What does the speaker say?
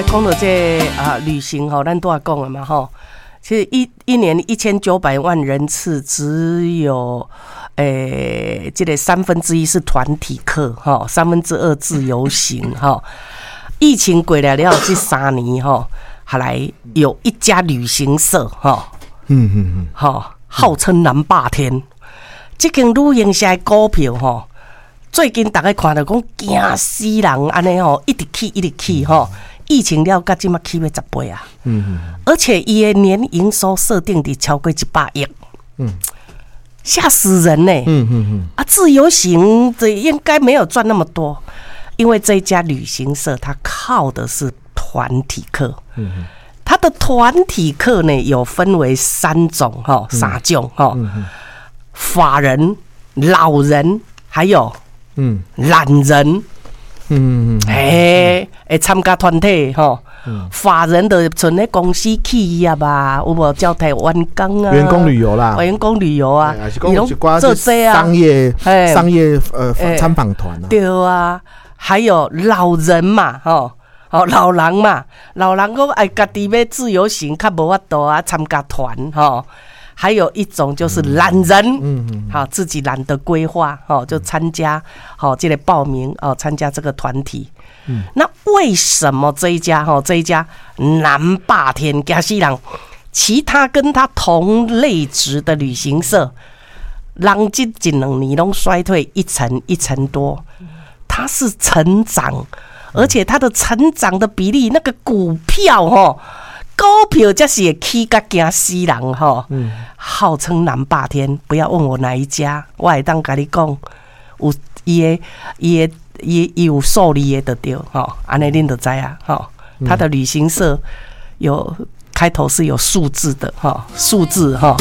講到這個啊旅行吼，咱拄仔講了嘛吼。其實一年1900萬人次，只有這個1/3是團體客吼，2/3自由行吼。疫情過來了這3年吼，後來有一家旅行社吼，吼，號稱南霸天，這間旅行社的股票吼，最近逐家看著講驚死人按呢吼，一直起一直起吼。疫情了，到這馬起欲10倍啊！而且伊的年營收設定佇超過100億，嚇死人呢！啊，自由行這應該沒有賺那麼多，因為這家旅行社它靠的是團體客，它的團體客呢有分為三種哈，三種哈，法人、老人，還有懶人。欸，會參加團體吼，法人的像咧公司企業啊，有無招待員工啊？員工旅遊啦，員工旅遊啊，伊攏做這啊，商業參訪團啊，對啊，還有老人嘛，吼，哦老人嘛，老人講愛家己欲自由行，較無法度啊，參加團吼。還有一種就是懶人，好自己懶得規劃，吼就參加，好這個報名哦，參加這個團體。那為什麼這一家吼這一家南霸天驚死人，其他跟他同類值的旅行社，人這一兩年攏衰退一成一成多，它是成長，而且它的成長的比例，那個股票吼，股票才是會起甲驚死人吼，號稱南霸天，不要問我哪一家，我會當共你講，有伊的伊的伊伊有數字的就對吼，按呢恁就知影吼。他的旅行社有開頭是有數字的吼，數字吼。